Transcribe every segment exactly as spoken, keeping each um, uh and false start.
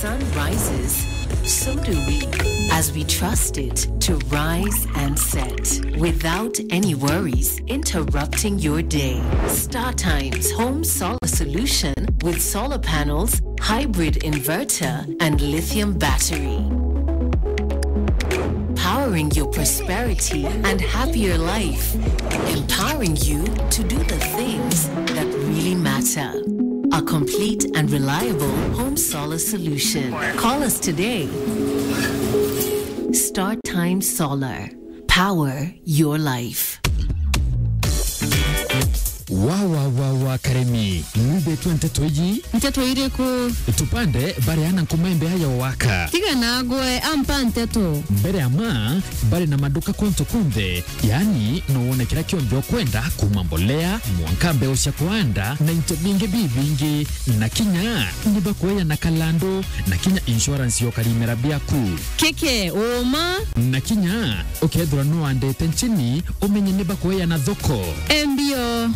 sun rises, so do we, as we trust it to rise and set without any worries interrupting your day. Star Times Home Solar Solution with solar panels, hybrid inverter, and lithium battery. Powering your prosperity and happier life. Empowering you to do the things that really matter. A complete and reliable home solar solution. Call us today. Star Time Solar. Power your life. Wa, wa, wa, wa, Karemi, nwithitwe nteto iji? Nteto iriku? Tupande bari ana nkuma imbea ya waka. Tiga nagwe, ampa nteto. Mbere ya ma, bari na maduka kuntu kunthe, yani, no wone kira kionthe ukwenda, kuma mbolea, mwanka mbeu cia kuanda, na into bingi bibingi, na kinya ni bakueana kalando, na kinya insurance ya ukarimira biaku. Keke, uma. Na kinya, ukethirwa nuandite nchini, umenye ni bakueana thoko. Embio.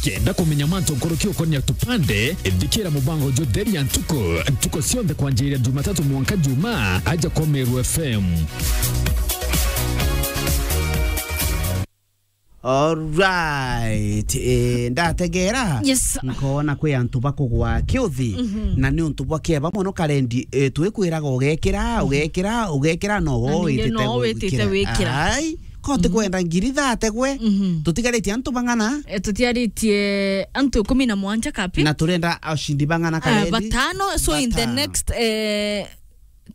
Kenda kumenya mantu nkuruki ukonia tupande, thikira mubango jutheria ntuku, ntuku cionthe kwanjiria Jumatatu mwanka Juma, aja kwa Meru F M. Alright. Eh, ndategera. Yes. Nkona kwi antu bakugwa kiuthi, mhm, na ni untu bwa kieba mono karendi, eh, twikwiraga ugekira, mhm, ugekira, ugekira, no. Na wo ningĩ witite no witite gwikira. Wikira. Ai, ko, mhm, tikwenda ngiri thate gwe. Mhm. Tutigaritie antu bang'ana? Eh, tutiaritie antu ikumi na mwanja kapi? Na turenda ashindi bang'ana, eh, karendi? Batano. So in the, batano, next, eh,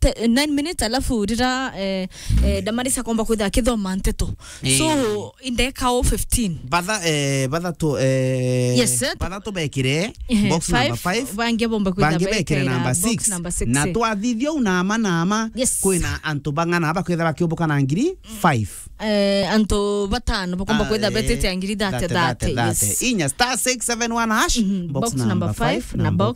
te-, nine minutes, alafu rira, eh, eh, Damaris akomba kwitha akithoma nteto. Eh. So, indeka o fifteen. Batha, eh, bathatu, eh, yes, sir, bathatu bekire, eh, box number five, five. Bangi bomba kwitha bangi bekire number box six. Number six, na eh, twathithia u nama nama, yes, kwina antu bang'ana bakwitha bakiumbuka na ngiri five. Eh, antu batano bakomba, ah, kwitha, eh, betite ngiri thate, thate, thate, thate, yes. Inya star six seven one hash, mhm, box number five na box